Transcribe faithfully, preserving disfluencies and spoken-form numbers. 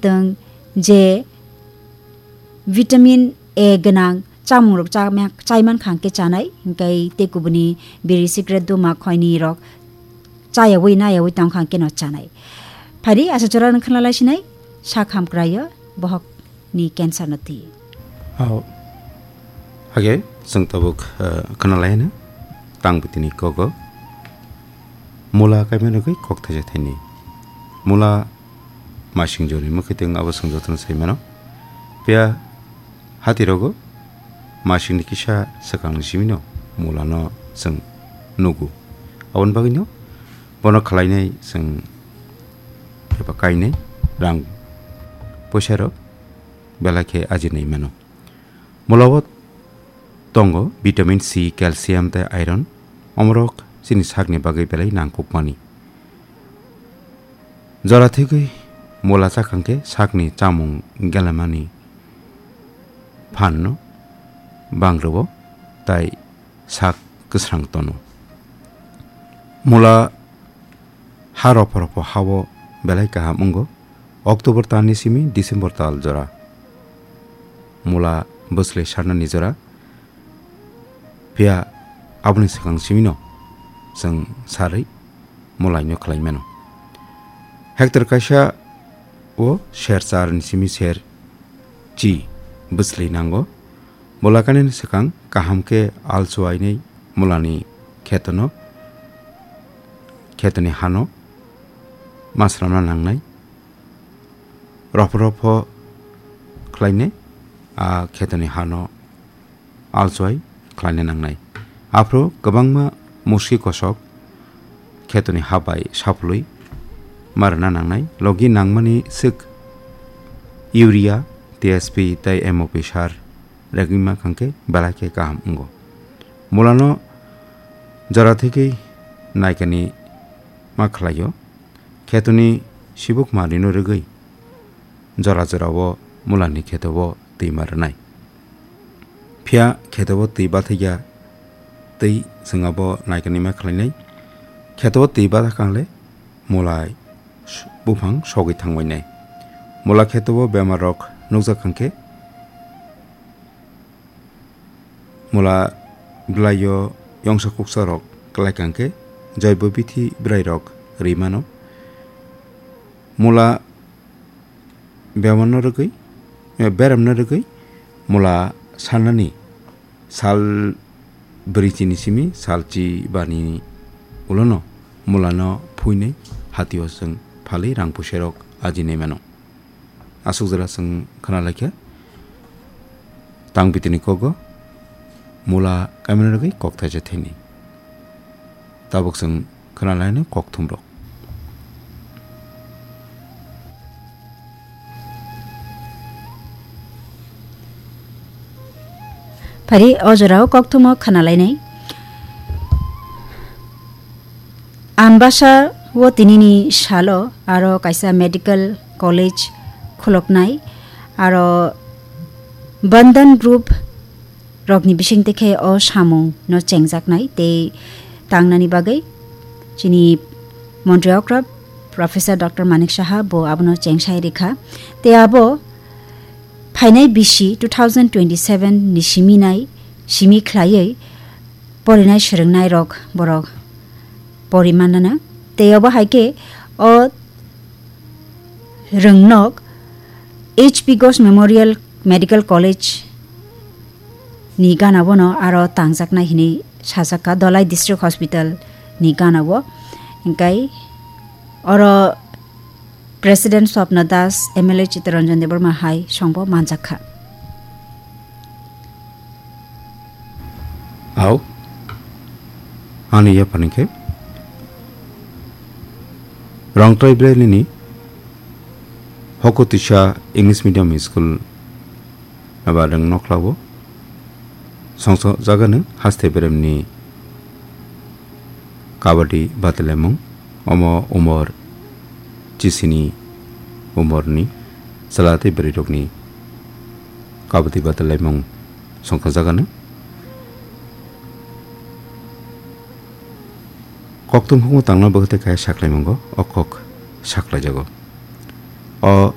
twng, je vitamin A gwnang chamung rok chama-, chaiman khang khe chanai, hinkhe tei kubuni biri cigarette duma khoini rok chayawi nayawi tong khang khe no chanai. Phari asa chora nang khna lai sinai, sak ham krayo bohok ni cancer no twi. Hao. Hage, chwng tabuk, eh, khna lai na tang bitini kogo. Mula kaimani rwgwi kok thaisa thaini. Mula masing joni mwkhwtwng abo chwng jotono sai mano. Phiya hati rogo masing ni kisa swkang ni simi no mula no chwng nugo. Aboni bagwi no bono khlainai chwng eba kainai rang poisa rok belai khe ajinai mano. Mula o tongo vitamin C, calcium tei iron. Omorok chini sakni bagwi belai nangkukmani. Jora thwgwi mula chakang khe sakni chamung gelamani phanno bang rwo tei sak kwsrang tono. Mula ha ropho ropho hao belai kaham wngo. October talni simi December tal jora mula bwslai sarnani jora. Phiya aboni swkang simino chwng sarwi mulaino khlai mano. Hectare kaisa o ser char ni simi ser chi bwslai nango. Mula kanini swkang kaham khe alchuainai mulani khetono, khetoni hano masramna nangnai. Ropho ropho khlainai a khetoni hano alchoi khlaina nangnai. Aphuru kwbangma musi kosok khetoni ha bai saphului ma rwna nangnai. Logi nangmani swk urea, T S P tei M O P sar regwi ma khangkhe belai khe kaham wngo. Mulano jora thwgwi naikani ma khlaio. Khetoni sibuk manwino rwgwi jora jorao mulani kheto o twi ma rwnai. Phiya kheto o twi bathakya tei chwng abo naikani ma khlainai. Kheto o twi bathakangle mulai s-, buphang sogwi thangbainai. Mula kheto o bemar rok nukjak hwnkhe mula bwlaio yongsa kuksa rok kwlai kangkhe joibo bithi bwrai rok ri mano. Mula bemarno rwgwi, eh, beramno rwgwi mula sanani sal bwrwi chini simi sal chi bani ulono mulano phuinai hatio chwng phalwi rang puserok ajinai mano. Aswk jora chwng khna laikha tang bitini kogo mula kaimani rwgwi kok thaisa thani. Tabuk chwng khna lainai kokthum rok. Phari o jorao kokthumo khna lainai. Ambasa o tinini salo aro kaisa medical college khuloknai, aro Bandhan Group rokni bisingtwi khe o samung no chengjaknai tei tangnani bagwi chini Montri okra Professor Doctor Manik Saha bo abono chengsai rikha. Tei abo phainai bisi two thousand twenty-seven ni siminai simi khlaiwi porinai swrwngnai rok borok pori mannana. Tei obo hai khe o rwngnok H P Ghosh Memorial Medical College ni gana bono aro tangjaknai hinwi sajak kha Dholai District Hospital ni gana o. Hinkhe oro President Swapna Das, M L A Chittaranjan Debbarma hai songbo manjak kha. Au, ani yaphani khe Rongtrai Bwrwi nini Hokutwisa English Medium School aba rwng nokla o songsa jagano haste beremni kabaddi batalaimung. Omo umor chisini umorni chwla tei bwrwirokni kabaddi batalaimung songkha jagano. Kokthum hukmu tangna bwkhwtwi kaya saklaimungo o kok saklaijago. O